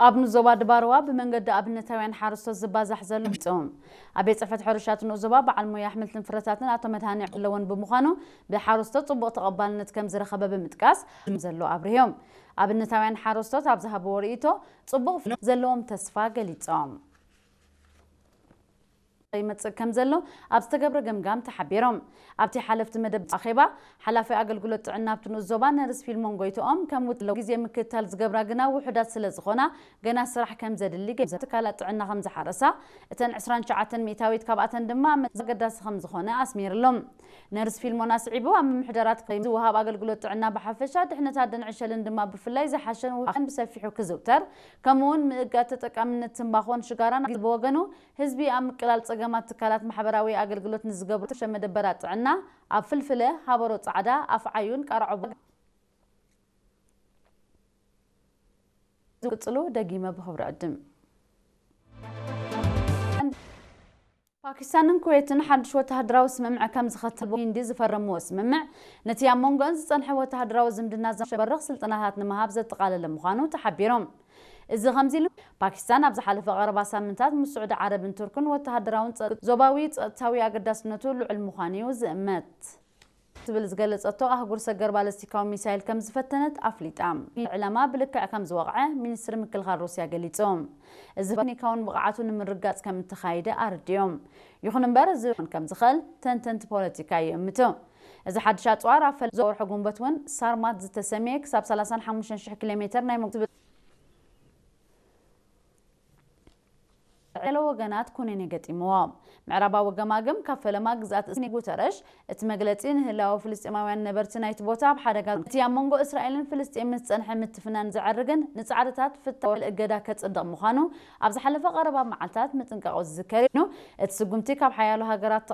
ኣብ ንዞባ ድባርዋ ብመንገዲ ኣብነታውያን ሓረስቶት ዝባዛሕ ዘሎ ጾም ኣብ ቤት ጽሕፈት ሕርሻት ንኡስ ዞባ በዓል ሞያ ኣሕምልትን ፍረታትን ኣቶ መድሃኒ ኣለዎን ብምዃኑ፣ ብሓረስቶት ጽቡቕ ተቐባልነት ከም ዝረኸበ ብምጥቃስ ዘሎ ኣብርህዮም። ኣብነታውያን ሓረስቶት ኣብ ዝሃብዎ ርእይቶ፣ ጽቡቕ ዘለዎም ተስፋ ገሊጾም። ይመጽእ ከም ዘሎ ኣብ ዝተገብረ ገምጋም ተሓቢሮም። ኣብቲ ሓለፍቲ መደብ ኣኼባ፣ ሓላፊ ኣገልግሎት ጥዕና ኣብቲ ንኡስ ዞባ ነርስ ፊልሞን ጎይትኦም ከም ውጥለው ግዜ ምክትታል ዝገብራ ግና ውሑዳት ስለ ዝኾና፣ ገና ስራሕ ከም ዘድሊ ገ ትካላት ጥዕና ከም ዝሓረሳ፣ እተን ዕስራን ትሽዓተን ሚእታዊት ካብኣተን ድማ ኣብ መጽ ኣገዳሲ ከም ዝኾነ ኣስሚርሎም። ነርስ ፊልሞን ኣስዒቡ፣ ኣብ ምምሕዳራት ዝወሃብ ኣገልግሎት ጥዕና ብሓፈሻ፣ ድሕነት ኣደን ዕሸልን ድማ ብፍላይ ዝሓሸን ውሃን ብሰፊሑ ክዝውተር፣ ከምኡውን ምእጋድ ተጠቃምነት ትንባኾን ሽጋራን ብወገኑ፣ ህዝቢ ኣብ ምቅላል ጸገማት ትካላት ማሕበራዊ ኣገልግሎት ንዝገብሩ ሸ መደበራት ጥዕና ኣብ ፍልፍለ፣ ሃበሮ ጻዕዳ፣ ኣፍዓዩን ቃርዖ ዝቅጽሉ ደጊመ ብኽብሪ ዕድም። ፓኪስታንን ኩዌትን ሓድሽ ወተሃደራዊ ስምምዕ ከም ዝኸተል ሂንዲ ዝፈረምዎ ስምምዕ፣ ነቲ ኣብ መንጎን ዝጸንሐ ወተሃደራዊ ዝምድና ዘሸበርኽ ስልጠናታት ንምሃብ ዘጠቓለለ ምዃኑ ተሓቢሮም። እዚ ከምዚ ኢሉ፣ ፓኪስታን ኣብ ዝሓለፈ ቀረባ ሳምንታት ምስ ስዑዲ ዓረብን ቱርክን ወተሃደራውን ጸ-፣ ዞባዊ ጸጥታዊ ኣገዳስነቱ ልዑል ምዃኑ እዩ ዝእመት። ትብል ዝገለጸቶ ኣህጉር ሰገር ባለስቲካዊ ሚሳይል ከም ዝፈተነት ኣፍሊጣ። ዕላማ ብልክዕ ከም ዝወቕዐ ሚኒስትሪ ምክልኻል ሩስያ ገሊጹ። እዚ ቴክኒካውን ብቕዓቱ ንምርጋጽ ከም እተኻየደ ኣረዲኦም። ይኹን እምበር፣ እዚ እውን ከም ዝኽእል ተንተንቲ ፖለቲካ ይእምቱ። እዚ ሓድሽ ኣጽዋር ኣብ ፈለማ ወርሒ ጉንበት እውን ሳርማት ዝተሰምየ ክሳብ ሰላሳን ሓሙሽተን ሽሕ ኪሎ ሜትር ናይ መጉ-፣ ገለ ወገናት ኩነኔ ገጢምዎ። ምዕራባዊ ገማግም ካብ ፈለማ ግዝኣት እስኒ ጉተረሽ፣ እቲ መግለጺ ንህላወ ፍልስጤማውያን ነበርቲ ናይቲ ቦታ ኣብ ሓደጋ፣ እቲ ኣብ መንጎ እስራኤልን ፍልስጤምን ዝጸንሐ ምትፍናን ዘዕርግን ንጻዕርታት ፍታው እገዳ ከጽድቕ ምዃኑ ኣብ ዝሓለፈ ቀረባ መዓልታት ምጥንቃቑ ዝዝከር እዩ። እቲ ስጉምቲ ካብ ሓያሎ ሃገራት